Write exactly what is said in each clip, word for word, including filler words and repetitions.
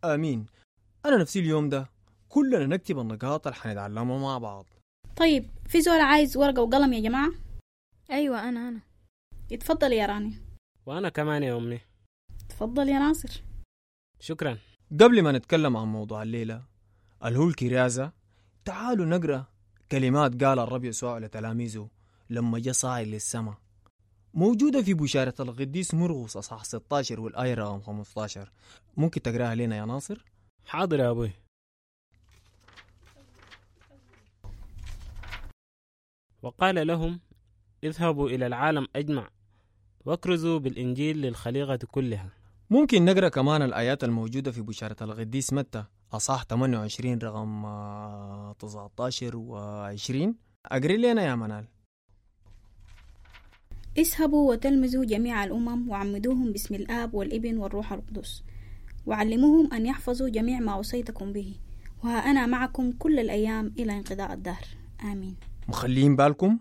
آمين. أنا نفسي اليوم ده كلنا نكتب النقاط اللي حنتعلمها مع بعض. طيب، في زول عايز ورقة وقلم يا جماعة؟ أيوة، أنا أنا اتفضل يا راني. وأنا كمان يا أمي. اتفضل يا ناصر. شكرا. قبل ما نتكلم عن موضوع الليلة اللي هو الكرازة، تعالوا نقرأ كلمات قال الرب يسوع لتلاميذه لما جاء صاعد للسماء، موجودة في بشارة القديس مرقس أصحاح ستاشر والآية رقم خمستاشر. ممكن تقراها لنا يا ناصر؟ حاضر يا أبوي. وقال لهم: اذهبوا إلى العالم أجمع واكرزوا بالإنجيل للخليقة كلها. ممكن نقرأ كمان الآيات الموجودة في بشارة القديس متى أصحاح ثمانية وعشرين رقم تسعتاشر وعشرين. أقري لنا يا منال. اذهبوا وتلمذوا جميع الأمم وعمدوهم باسم الآب والابن والروح القدس، وعلموهم أن يحفظوا جميع ما أوصيتكم به، وها أنا معكم كل الأيام إلى انقضاء الدهر. آمين. مخلين بالكم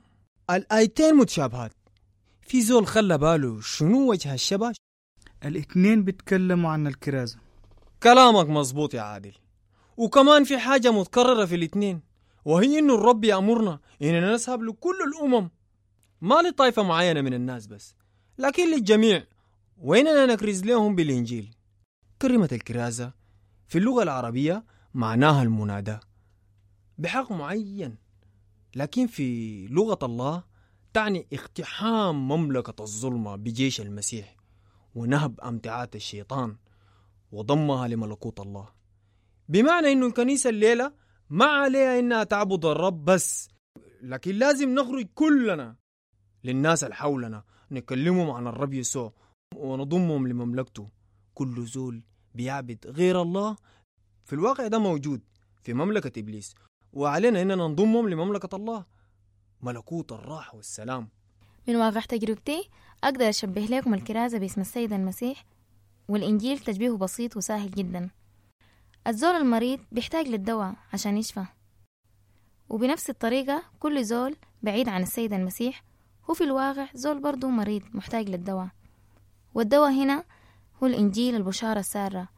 الآيتين متشابهات. في زول خلى باله شنو وجه الشبه؟ الاثنين بيتكلموا عن الكرازة. كلامك مظبوط يا عادل. وكمان في حاجة متكررة في الاثنين، وهي إنه الرب يأمرنا إننا نذهب لكل الأمم، ما لطائفة معينة من الناس بس، لكن للجميع، وإننا نكرز لهم بالإنجيل. كلمة الكرازة في اللغة العربية معناها المناداة بحق معين، لكن في لغة الله تعني اقتحام مملكة الظلمة بجيش المسيح ونهب أمتعات الشيطان وضمها لملكوت الله. بمعنى إنه الكنيسة الليلة ما عليها إنها تعبد الرب بس، لكن لازم نخرج كلنا للناس اللي حولنا، نكلمهم عن الرب يسوع ونضمهم لمملكته. كل زول بيعبد غير الله في الواقع ده موجود في مملكة إبليس، وعلينا إننا نضمهم لمملكة الله، ملكوت الراحة والسلام. من واقع تجربتي أقدر أشبه لكم الكرازة باسم السيد المسيح والإنجيل تشبيهه بسيط وسهل جدا. الزول المريض بيحتاج للدواء عشان يشفى، وبنفس الطريقة كل زول بعيد عن السيد المسيح هو في الواقع زول برضو مريض محتاج للدواء، والدواء هنا هو الإنجيل، البشارة السارة،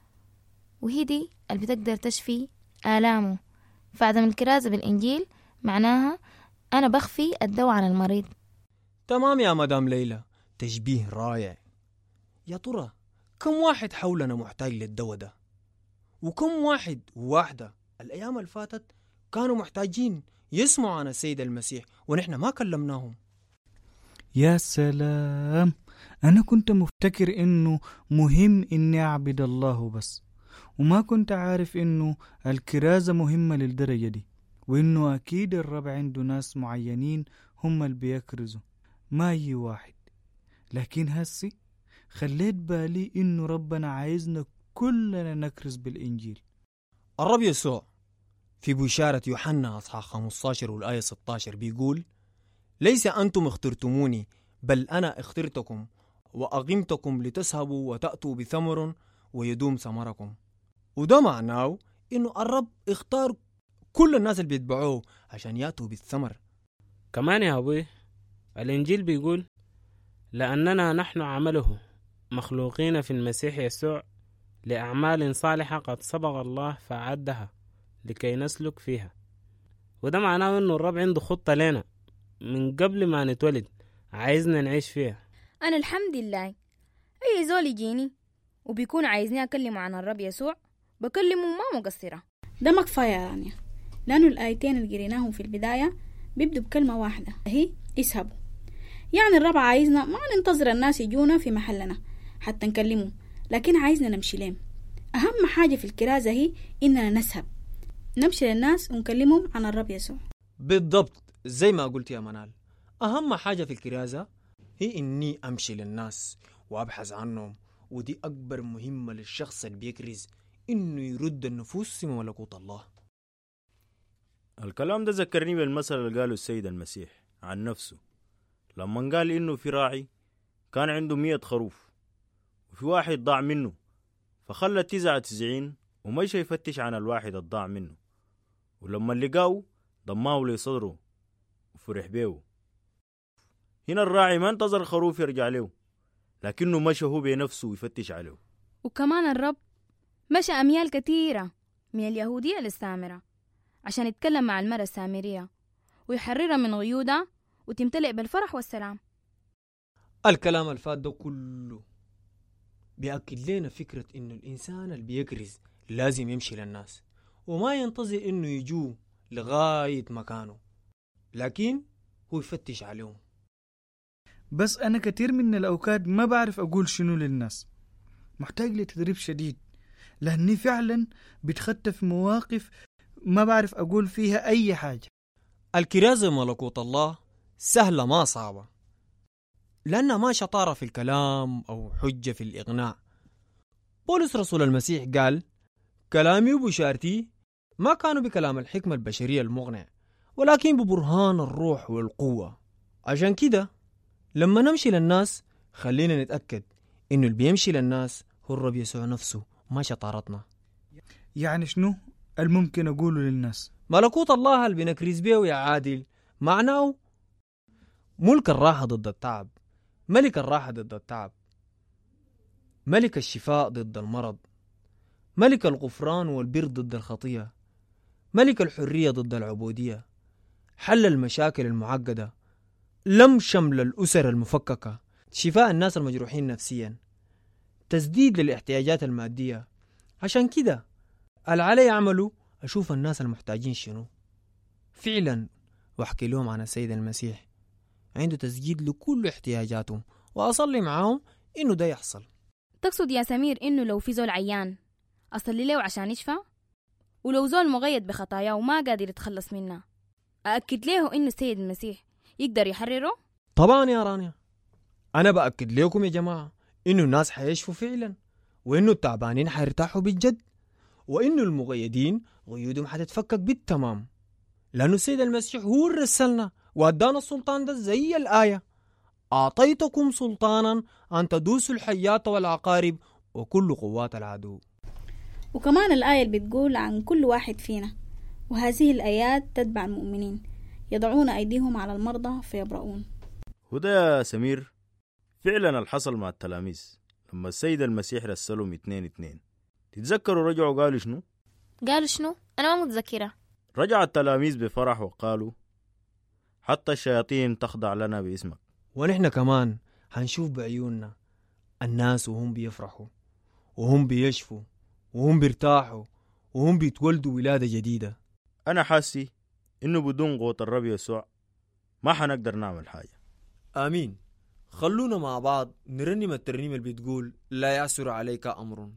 وهي دي اللي بتقدر تشفي آلامه. فعدم الكرازة بالإنجيل معناها أنا بخفي الدواء عن المريض. تمام يا مدام ليلى، تشبيه رائع. يا ترى كم واحد حولنا محتاج للدواء ده؟ وكم واحد وواحدة الأيام اللي فاتت كانوا محتاجين يسمعوا عن السيد المسيح ونحن ما كلمناهم؟ يا سلام، أنا كنت مفتكر إنه مهم إني أعبد الله بس، وما كنت عارف إنه الكرازة مهمة للدرجة دي، وإنه أكيد الرب عنده ناس معينين هم اللي بيكرزوا، ما أي واحد. لكن هسي خليت بالي إنه ربنا عايزنا كلنا نكرز بالإنجيل. الرب يسوع في بشارة يوحنا أصحاح خمستاشر والآية ستاشر بيقول: ليس أنتم اخترتموني بل أنا اخترتكم وأقمتكم لتذهبوا وتأتوا بثمر ويدوم ثمركم. وده معناه إنه الرب اختار كل الناس اللي بيتبعوه عشان يأتوا بالثمر. كمان يا أبوي الإنجيل بيقول: لأننا نحن عمله مخلوقين في المسيح يسوع لأعمال صالحة قد سبق الله فأعدها لكي نسلك فيها. وده معناه إنه الرب عنده خطة لنا من قبل ما نتولد، عايزنا نعيش فيها. أنا الحمد لله أي زول يجيني وبيكون عايزني أكلمه عن الرب يسوع بكلمه ما مقصرة. ده ما كفاية يا رانيا، لأنه الآيتين اللي قريناهم في البداية بيبدوا بكلمة واحدة، هي اذهبوا. يعني الرب عايزنا ما ننتظر الناس يجونا في محلنا حتى نكلمه، لكن عايزنا نمشي لهم. أهم حاجة في الكرازة هي إننا نذهب، نمشي للناس ونكلمهم عن الرب يسوع. بالضبط زي ما قلت يا منال، أهم حاجة في الكرازة هي إني أمشي للناس وأبحث عنهم، ودي أكبر مهمة للشخص اللي بيكرز، إنه يرد النفوس في ملكوت الله. الكلام ده ذكرني بالمثل اللي قاله السيد المسيح عن نفسه لما قال إنه في راعي كان عنده مية خروف وفي واحد ضاع منه، فخلى تسعة وتسعين ومشى يفتش عن الواحد الضاع منه، ولما لقاه ضماه لصدره وفرح بيه. هنا الراعي ما انتظر الخروف يرجع له، لكنه مشى هو بنفسه ويفتش عليه. وكمان الرب مشى أميال كثيرة من اليهودية للسامرة عشان يتكلم مع المرأة السامرية ويحررها من قيودها وتمتلئ بالفرح والسلام. الكلام الفات ده كله بيأكد لنا فكرة إنه الإنسان اللي بيكرز لازم يمشي للناس وما ينتظر إنه يجوه لغاية مكانه، لكن هو يفتش عليهم. بس أنا كتير من الأوقات ما بعرف أقول شنو للناس، محتاج لتدريب شديد، لأني فعلا بتخطى في مواقف ما بعرف أقول فيها أي حاجة. الكرازة ملكوت الله سهلة ما صعبة، لأنها ما شطارة في الكلام أو حجة في الإغناء. بولس رسول المسيح قال كلامي وبشارتي ما كانوا بكلام الحكمة البشرية المغنع، ولكن ببرهان الروح والقوة. عشان كده لما نمشي للناس خلينا نتأكد إنه اللي بيمشي للناس هو الرب يسوع نفسه، ما شطارتنا. يعني شنو الممكن أقوله للناس؟ ملكوت الله اللي بنكرز بيه يا عادل معناه ملك الراحة ضد التعب، ملك الراحة ضد التعب، ملك الشفاء ضد المرض، ملك الغفران والبر ضد الخطية، ملك الحرية ضد العبودية، حل المشاكل المعقدة، لم شمل الأسر المفككة، شفاء الناس المجروحين نفسيا، تسديد للاحتياجات المادية. عشان كده العلي يعملوا أشوف الناس المحتاجين شنو فعلا وأحكي لهم عن السيد المسيح، عنده تسجيد لكل احتياجاتهم، وأصلي معاهم إنه ده يحصل. تقصد يا سمير إنه لو في زول عيان أصلي له عشان يشفى؟ ولو زول مغيد بخطاياه وما قادر يتخلص منها أأكد له إنه السيد المسيح يقدر يحرره؟ طبعا يا رانيا، أنا بأكد لكم يا جماعة إنه الناس حيشفوا فعلا، وإنه التعبانين حيرتاحوا بالجد، وإنه المغيدين غيودهم حتتفكك بالتمام، لأنه السيد المسيح هو اللي رسلنا وأدانا السلطان ده زي الآية أعطيتكم سلطانا أن تدوسوا الحيات والعقارب وكل قوات العدو. وكمان الآية اللي بتقول عن كل واحد فينا، وهذه الآيات تتبع المؤمنين يضعون أيديهم على المرضى فيبرؤون. وده يا سمير فعلا الحصل مع التلاميذ لما السيد المسيح رسلهم اتنين اتنين. تتذكروا رجعوا قالوا شنو؟ قالوا شنو؟ أنا ما متذكرة. رجع التلاميذ بفرح وقالوا حتى الشياطين تخضع لنا باسمك. ونحن كمان هنشوف بعيوننا الناس وهم بيفرحوا وهم بيشفوا وهم بيرتاحوا وهم بيتولدوا ولادة جديدة. أنا حاسي إنه بدون قوة الرب يسوع ما حنقدر نعمل حاجة. آمين. خلونا مع بعض نرنم الترنيمة اللي بتقول لا يعسر عليك أمر.